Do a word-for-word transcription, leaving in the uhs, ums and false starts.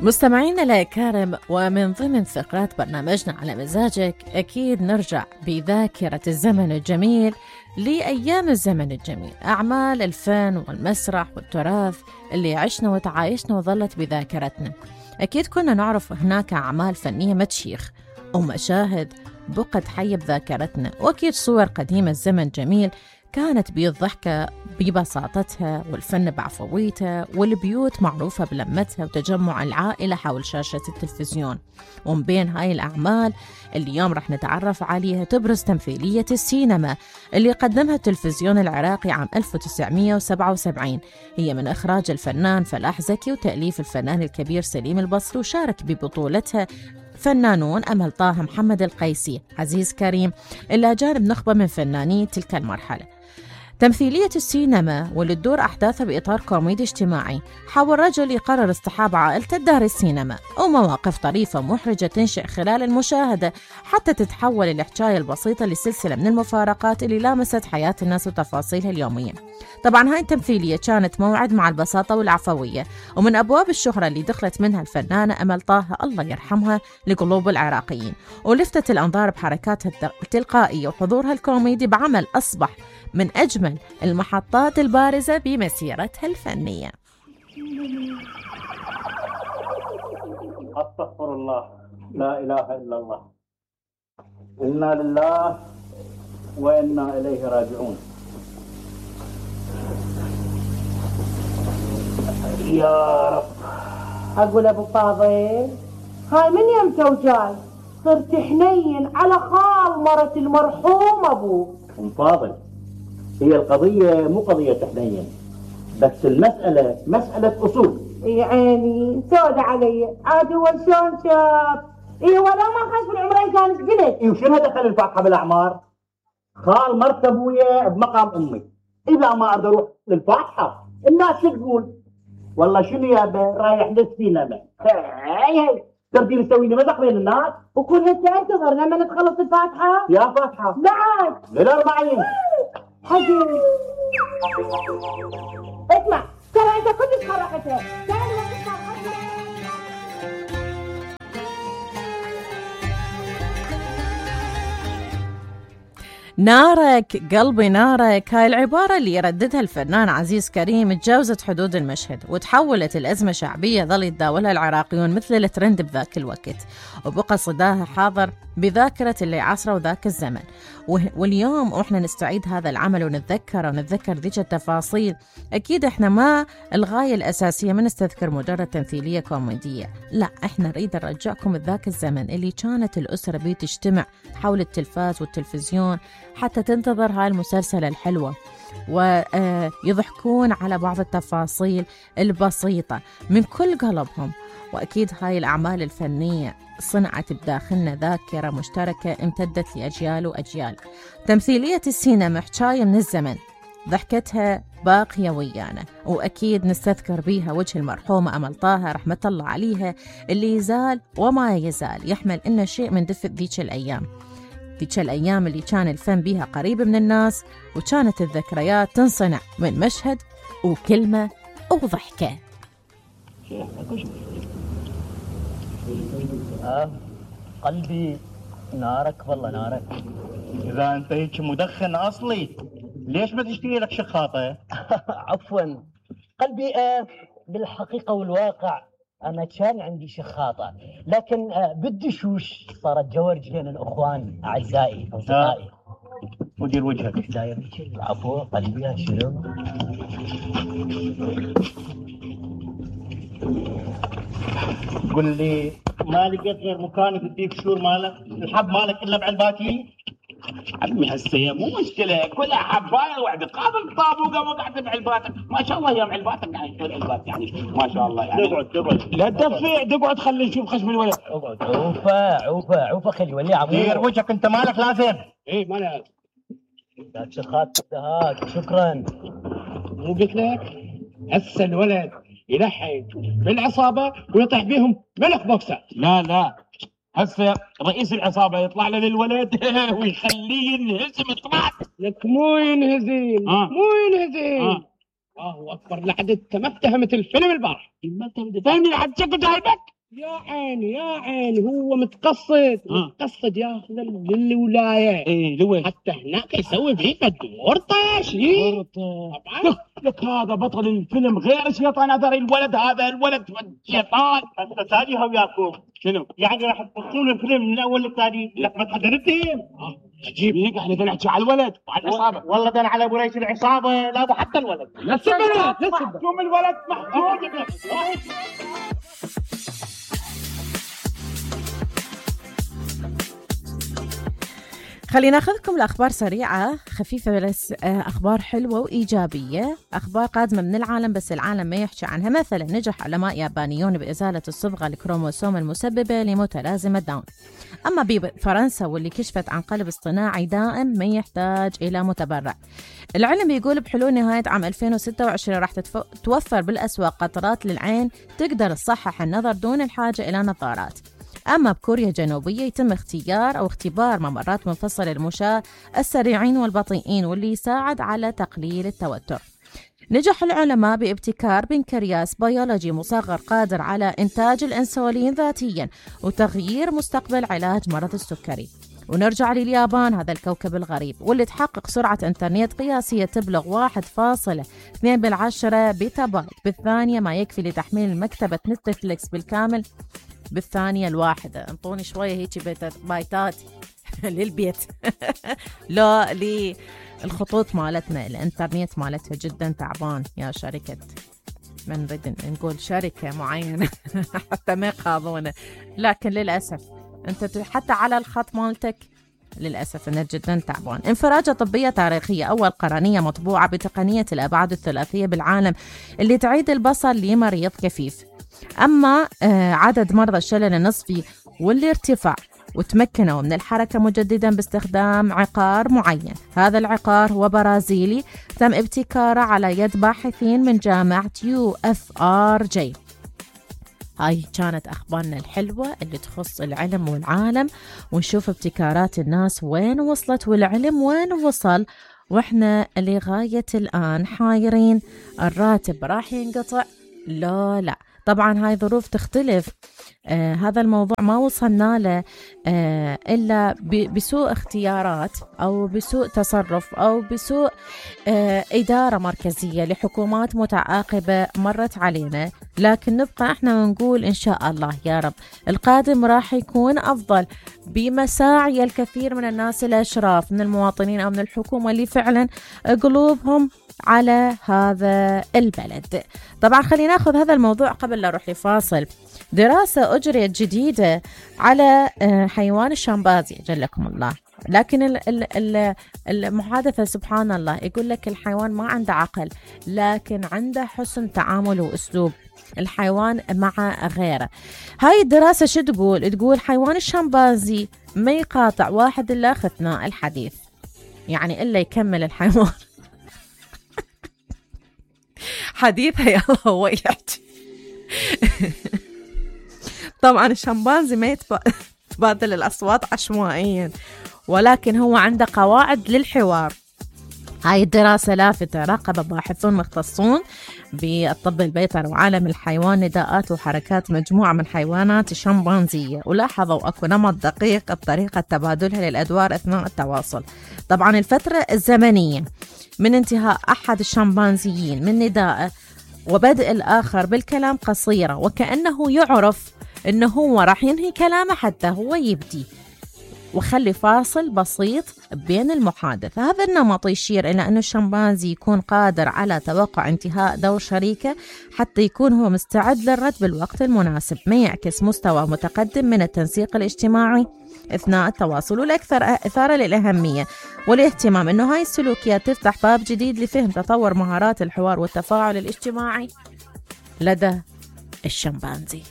مستمعينا الأكارم، ومن ضمن فقرات برنامجنا على مزاجك أكيد نرجع بذاكرة الزمن الجميل لأيام الزمن الجميل، أعمال الفن والمسرح والتراث اللي عشنا وتعايشنا وظلت بذاكرتنا. أكيد كنا نعرف هناك أعمال فنية متشيخ ومشاهد بقت حية بذاكرتنا، وأكيد صور قديمة الزمن جميل كانت بالضحكة ببساطتها والفن بعفويته، والبيوت معروفة بلمتها وتجمع العائلة حول شاشة التلفزيون. ومن بين هاي الأعمال اللي اليوم رح نتعرف عليها تبرز تمثيلية السينما اللي قدمها التلفزيون العراقي عام ألف وتسعمئة وسبعة وسبعين. هي من إخراج الفنان فلاح زكي وتأليف الفنان الكبير سليم البصري، وشارك ببطولتها فنانون أمل طه، محمد القيسي، عزيز كريم، إلى جانب نخبة من فناني تلك المرحلة. تمثيلية السينما واللي تدور أحداثها بإطار كوميدي اجتماعي حول رجل يقرر اصطحاب عائلته لدار السينما، ومواقف طريفة محرجة تنشئ خلال المشاهدة حتى تتحول الحكاية البسيطة لسلسلة من المفارقات اللي لامست حياة الناس وتفاصيلها اليومية. طبعا هاي التمثيلية كانت موعد مع البساطة والعفوية، ومن أبواب الشهرة اللي دخلت منها الفنانة أمل طه الله يرحمها لقلوب العراقيين، ولفتت الأنظار بحركاتها التلقائية وحضورها الكوميدي بعمل أصبح من أجمل المحطات البارزة بمسيرتها الفنية. أستغفر الله، لا إله إلا الله، إنا لله وإنا إليه راجعون. يا رب. أقول أبو فاضل، هاي من يمتى وجاي؟ صرت حنين على خال مرة المرحوم أبوك. أم فاضل، هي القضية مو قضية حنين، بس المسألة مسألة أصول. يا عيني سود علي، عاد هو شلون شاف؟ إيه ولا ما خش بالعمرين كانت بنت. إيه وشنو دخل الفاتحة بالأعمار؟ خال مرت أبويا بمقام أمي، إذا ما أقدر أروح للفاتحة الناس شو تقول؟ والله شنو يابا رايح للسينما. هاي هاي ترضي تسوي لي مزح بين الناس؟ وكل هسه انتظر لما تخلص الفاتحة؟ يا فاتحة؟ بعد للأربعين. حجي اسمع، ترى انت كلش خرقتها. تعال وقت نارك قلبي نارك، هاي العبارة اللي يرددها الفنان عزيز كريم تجاوزت حدود المشهد وتحولت الأزمة شعبية ظل يتداولها العراقيون مثل الترند بذاك الوقت، وبقى صداها حاضر بذاكرة اللي عاصره ذاك الزمن. واليوم وإحنا نستعيد هذا العمل ونتذكر ونتذكر ذيك التفاصيل، أكيد إحنا ما الغاية الأساسية من نستذكر مجرد تمثيلية كوميدية، لا إحنا نريد نرجعكم ذاك الزمن اللي كانت الأسرة بيه تجتمع حول التلفاز والتلفزيون حتى تنتظر هاي المسلسل الحلوة، ويضحكون على بعض التفاصيل البسيطة من كل قلبهم. وأكيد هاي الأعمال الفنية صنعت بداخلنا ذاكرة مشتركة امتدت لأجيال وأجيال. تمثيلية السينما حكاية من الزمن ضحكتها باقية ويانا، وأكيد نستذكر بيها وجه المرحومة أمل طه رحمة الله عليها اللي يزال وما يزال يحمل إنه شيء من دفء ذيك الأيام، ذيك الأيام اللي كان الفن بيها قريب من الناس، وكانت الذكريات تنصنع من مشهد وكلمة وضحكة. آه قلبي نارك والله نارك. إذا أنت هيك مدخن أصلي ليش ما تشتري لك شخاطة؟ عفوا قلبي، آه بالحقيقة والواقع أنا كان عندي شخاطة، لكن آه بالدشوش صارت جورج بين الأخوان أعزائي أصدقائي. ودير وجهك. داير العفو قلبي. شنو؟ قل لي ما لقيت غير مكان بديك شور مالك الحب مالك الا بعلباتي؟ عمي هسه مو مشكله، كلها حبايه واحده قابل طابوقه وقعت بعلباتك، ما شاء الله يا علباتك يعني كل علبات يعني ما شاء الله يعني. اقعد اقعد لا تدفع، اقعد خلي نشوف خشم الولد. اقعد عوفه عوفه عوفه خلي ولي عمو. دير وجهك انت مالك لازم. اي ما انا لا شخات هات شكرا. مو قلت لك هسه الولد يلحق بالعصابه ويطيح بيهم ملك بوكسات. لا لا هسه رئيس العصابه يطلع له للولد ويخليه ينهزم. طلعت لك مو ينهزم. آه. مو ينهزم. آه. الله اكبر، لحد انت ما افتهمت الفيلم البارح. ما انت فاهمني لحد شكل جايبك. يا عيني يا عيني، هو متقصد آه. متقصد ياخذ للولايه. ايه لوين؟ حتى هناك يسوي فيه الدور طاش. ايه طبعا لك هذا بطل الفيلم غير شيطان هذا الولد، هذا الولد شيطان. انت ساليها وياكم شنو؟ يعني راح تبصون الفيلم من الاول للثاني؟ لك ما تحضرتهم. اه عجيب هيك، احنا بدنا نحكي على الولد وعلى العصابه. والله ده على ابو ريش العصابه، لا حتى الولد. لا تسبنا محكوم الولد محكوم. خلينا ناخذكم لأخبار سريعة خفيفة بس أخبار حلوة وإيجابية، أخبار قادمة من العالم بس العالم ما يحكي عنها. مثلا نجح علماء يابانيون بإزالة الصبغة الكروموسوم المسببة لمتلازمة داون. أما بفرنسا واللي كشفت عن قلب اصطناعي دائم ما يحتاج إلى متبرع. العلم بيقول بحلول نهاية عام ألفين وستة وعشرين راح توفر بالأسواق قطرات للعين تقدر تصحح النظر دون الحاجة إلى نظارات. أما بكوريا الجنوبية يتم اختيار أو اختبار ممرات منفصلة للمشاة السريعين والبطيئين واللي يساعد على تقليل التوتر. نجح العلماء بابتكار بنكرياس بيولوجي مصغر قادر على إنتاج الأنسولين ذاتياً وتغيير مستقبل علاج مرض السكري. ونرجع لليابان، هذا الكوكب الغريب واللي تحقق سرعة إنترنت قياسية تبلغ واحد فاصلة اثنين بالعشرة بيتا بايت بالثانية، ما يكفي لتحميل مكتبة نتفليكس بالكامل بالثانية الواحدة. انطوني شوية هيك بايتات للبيت. لا للخطوط مالتنا، الانترنت مالتها جدا تعبان يا شركة، ما نريد نقول شركة معينة حتى ما يقاضونا، لكن للأسف انت حتى على الخط مالتك للأسف انه جدا تعبان. انفراجة طبية تاريخية، أول قرنية مطبوعة بتقنية الأبعاد الثلاثية بالعالم اللي تعيد البصر لمريض كفيف. أما عدد مرضى الشلل النصفي واللي ارتفع وتمكنوا من الحركة مجددا باستخدام عقار معين. هذا العقار هو برازيلي تم ابتكاره على يد باحثين من جامعة يو اف ار جي. هاي كانت أخبارنا الحلوة اللي تخص العلم والعالم، ونشوف ابتكارات الناس وين وصلت والعلم وين وصل، وإحنا لغاية الآن حايرين الراتب راح ينقطع لا لا. طبعا هاي ظروف تختلف، آه هذا الموضوع ما وصلنا له آه إلا بسوء اختيارات أو بسوء تصرف أو بسوء آه إدارة مركزية لحكومات متعاقبة مرت علينا، لكن نبقى احنا ونقول إن شاء الله يا رب القادم راح يكون أفضل بمساعي الكثير من الناس الأشراف من المواطنين أو من الحكومة اللي فعلا قلوبهم على هذا البلد. طبعا خلينا ناخذ هذا الموضوع قبل لا نروح لفاصل. دراسة أجريت جديدة على حيوان الشمبانزي جلكم الله، لكن المحادثة سبحان الله يقول لك الحيوان ما عنده عقل لكن عنده حسن تعامل وأسلوب الحيوان مع غيره. هاي الدراسة شو تقول؟ تقول حيوان الشمبانزي ما يقاطع واحد إلا أثناء الحديث، يعني إلا يكمل الحيوان حديثها يلا هو يحكي. طبعا الشمبانزي ما يتبادل الأصوات عشوائيا، ولكن هو عنده قواعد للحوار. هاي الدراسة لافتة، راقب باحثون مختصون بالطب البيطري وعالم الحيوان نداءات وحركات مجموعة من حيوانات الشمبانزية، ولاحظوا أكو نمط دقيق بطريقة تبادلها للأدوار أثناء التواصل. طبعا الفترة الزمنية من انتهاء أحد الشمبانزيين من نداءه وبدء الآخر بالكلام قصيرة، وكأنه يعرف أنه هو راح ينهي كلامه حتى هو يبدي، وخلي فاصل بسيط بين المحادثة. هذا النمط يشير إلى أن الشمبانزي يكون قادر على توقع انتهاء دور شريكه حتى يكون هو مستعد للرد بالوقت المناسب، ما يعكس مستوى متقدم من التنسيق الاجتماعي أثناء التواصل. والأكثر إثارة للأهمية والاهتمام أنه هاي السلوكيات تفتح باب جديد لفهم تطور مهارات الحوار والتفاعل الاجتماعي لدى الشمبانزي.